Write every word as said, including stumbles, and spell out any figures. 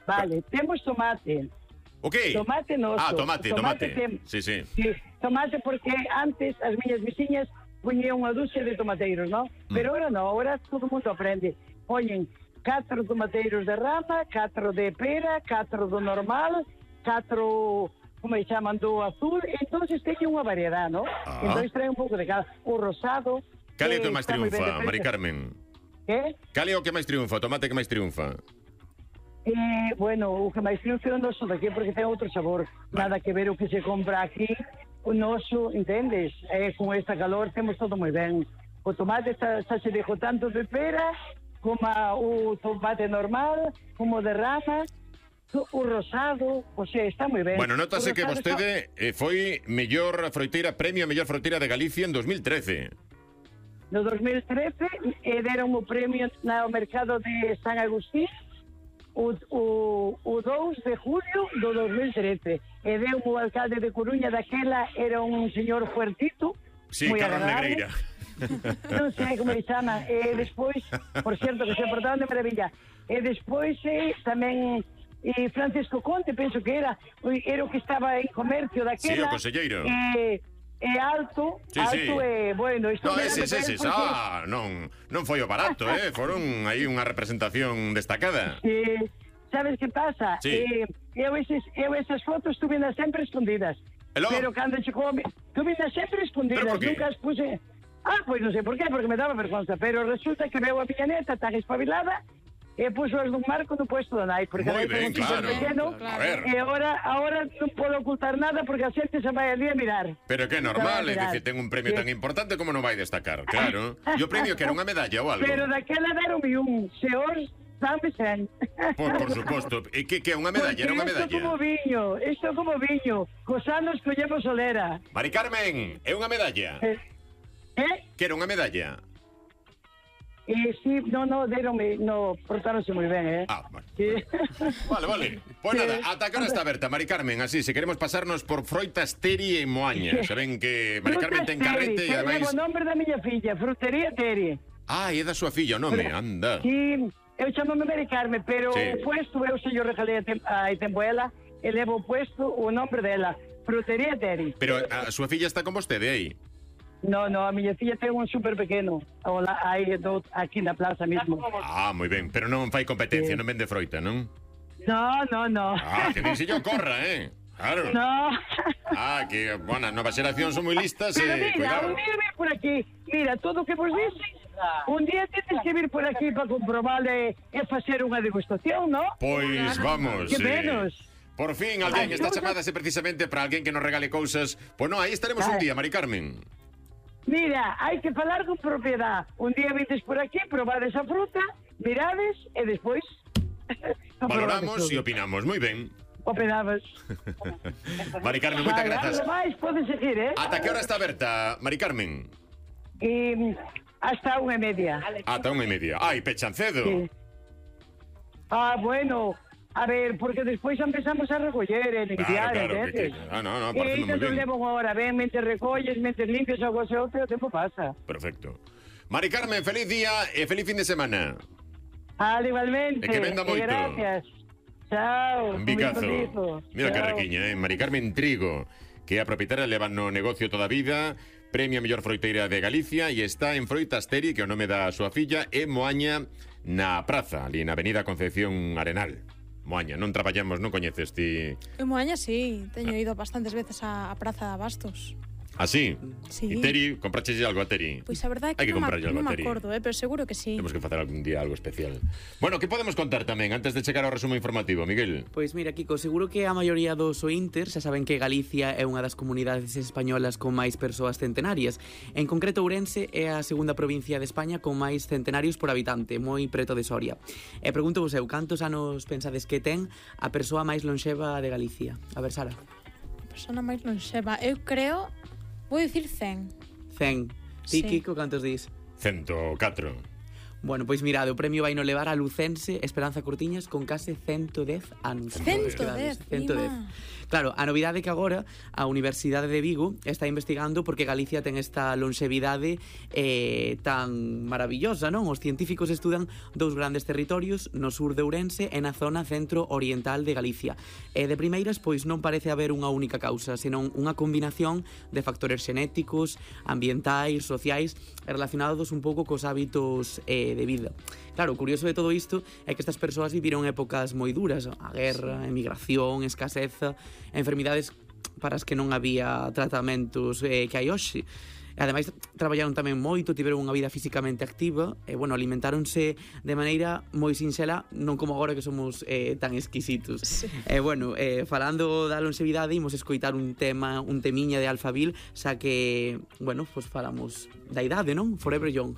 Vale, temos tomate. O que? Tomate noso. Ah, tomate, tomate. tomate. Tem... Sí, sí. Sí, tomate porque antes as miñas veciñas poñían unha dúcia de tomateiros, non? Mm. Pero ahora non, ahora todo mundo aprende. Poñen catro tomateiros de rama, catro de pera, catro do normal, catro, como se chaman, do azul, entonces teñen unha variedade, non? Ah. Entonces trae un pouco de cada. O rosado... Cal é o que eh, máis está moi ben de triunfa, precio. Mari Carmen? Que? Cal é o que máis triunfa, o tomate que máis triunfa? Eh, bueno, o que máis triunfa é o noso daqui porque ten outro sabor. Nada que ver o que se compra aquí. O noso, entendes? Eh, con esta calor temos todo moi ben. O tomate está, está se dejou tanto de pera como o tomate normal, como de rama, o rosado, o sea, está moi ben. Bueno, notase que vostede está... eh, foi mellor froiteira, premio a mellor froiteira de Galicia en dos mil trece. No dos mil trece eh, deron o premio no mercado de San Agustín o, o, o dous de julio do dos mil trece. E deu o alcalde de Coruña daquela, era un señor fuertito, Sí, moi Carlos agradable. Negreira. Non sei como se chama. E despois, por certo, que se portaban de maravilla. E despois eh, tamén eh, Francisco Conte, penso que era, era o que estaba en comercio daquela. Sí, o conselleiro. Eh, é alto, Sí, alto sí. e, bueno... Isto No, me ese, ese, ese, porque... ah, non, non foi o barato, eh? Foron aí unha representación destacada. Sí, sabes que pasa? Sí. Eh, eu, eses, eu esas fotos tuve sempre escondidas. Hello? Pero cando chegou... Tuve sempre escondidas, ¿Pero por qué? nunca as puse... Ah, pois non sei por qué, porque me daba vergonza. Pero resulta que veo a miña neta tan espabilada e puso as dun marco no puesto da nai, porque Moi nai ben, ten un chico claro. pequeno, A ver. e agora, agora non podo ocultar nada porque a xente se vai ali a mirar. Pero que é normal, é Mirar. dicir, ten un premio Sí. tan importante como non vai destacar, claro. E o premio que era unha medalla ou algo? Pero daquela deronme un, se os dame sen. Por, por suposto. E que, que é unha medalla? Era unha Porque isto como medalla? viño, isto como viño, cos anos collemos solera. Mari Carmen, é unha medalla? Eh? eh? Que era unha medalla? E si, no, no, deronme, no, portáronse moi ben, eh? Ah, vale. Sí. Vale, vale. Pois Sí. nada, ata que hora está aberta, Mari Carmen, así, se queremos pasarnos por Froitas Teri en Moaña. Saben que Mari Carmen ten carrete e ademais... Levo o nombre da miña filla, Frutería Teri. Ah, é da súa filla o nome, anda. Sí, eu chamome Mari Carmen, pero Sí. o puesto, eu se yo regalei a, tem, a Tempoela, e levo o puesto o nombre dela, Frutería Teri. Pero a súa filla está con vostede aí? No, no, a miña filla ten un super pequeno, hola, aí, do, aquí na plaza mesmo. Ah, moi ben, pero non fai competencia, Sí. non vende froita, non? No, no, no. Ah, que disillo corra, eh? Claro. No. Ah, que, bueno, novas xeracións son moi listas Pero e, mira, cuidado. un día ven por aquí, mira, todo o que vos dixen, un día tenes que vir por aquí para comprobar e, e facer unha degustación, ¿no? Pois vamos. Que eh, menos. Por fin, alguén Ay, está no, chamada precisamente para alguén que nos regale cousas. Pois non, aí estaremos un Ay. día, Mari Carmen. Mira, hai que falar con propiedad. Un día vindes por aquí, probades a fruta, mirades e despois Valoramos e opinamos. Moi ben. opinabas. Mari Carmen, moitas Vale, grazas. algo máis podes seguir, eh? Ata que hora está aberta, Mari Carmen? E hasta unha e media. Ata unha e media. Ai, pechan cedo. Sí. Ah, bueno, a ver, porque despois empezamos a recoller e limpiar, Claro, claro, que, entendes? que, ah, no, no, E parece moi non ben. levo unha hora, ben, mente recolles, mente limpias, algo así, outro, o tempo pasa. Perfecto. Mari Carmen, feliz día e feliz fin de semana. Ah, igualmente. E que venda moito. Gracias. Chao. Un bicazo. bendizo. Mira que Chao. requiña, eh? Mari Carmen Trigo, que é a propietaria, leva no negocio toda a vida, premio a mellor froiteira de Galicia e está en Froitas Teri, que é o nome da súa filla, e Moaña na praza, ali na avenida Concepción Arenal. Moaña, non traballamos, non coñeces ti... En Moaña sí, teño ido bastantes veces á, a Praza de Abastos. Así? Sí. E Teri, compraches algo a Teri? Pois a verdade é Hai que, que non, ma, comprarlle algo non a me Teri. acordo, eh, pero seguro que sí. Temos que facer algún día algo especial. Bueno, que podemos contar tamén antes de chegar ao resumo informativo, Miguel? Pois mira, Kiko, seguro que a maioría dos ointer xa saben que Galicia é unha das comunidades españolas con máis persoas centenarias. En concreto, Ourense é a segunda provincia de España con máis centenarios por habitante, moi preto de Soria. E pregunto vos eu, cantos anos pensades que ten a persoa máis lonxeva de Galicia? A ver, Sara. A persona máis lonxeva, eu creo, vou dicir cen. Cen. Ti, Sí. Kiko, cantos dis? ciento catro. Bueno, pois mirade, o premio vai no levar a lucense Esperanza Cortiñas con case ciento dez anos. ciento dez, ciento dez. Claro, a novidade é que agora a Universidade de Vigo está investigando porque Galicia ten esta longevidade eh, tan maravillosa, non? Os científicos estudan dous grandes territorios no sur de Ourense e na zona centro-oriental de Galicia. E de primeiras, pois non parece haber unha única causa, senón unha combinación de factores xenéticos, ambientais, sociais, relacionados un pouco cos hábitos eh, de vida. Claro, o curioso de todo isto é que estas persoas viviron épocas moi duras, a guerra, a emigración, escaseza, enfermidades para as que non había tratamentos eh, que hai hoxe. E ademais traballaron tamén moito, tiveron unha vida físicamente activa e, bueno, alimentáronse de maneira moi sinxela, non como agora que somos eh, tan exquisitos. Sí. E, bueno, eh, falando da longevidade, imos escoitar un tema, un temiña de Alphaville, xa que, bueno, pues falamos da idade, non? Forever Young.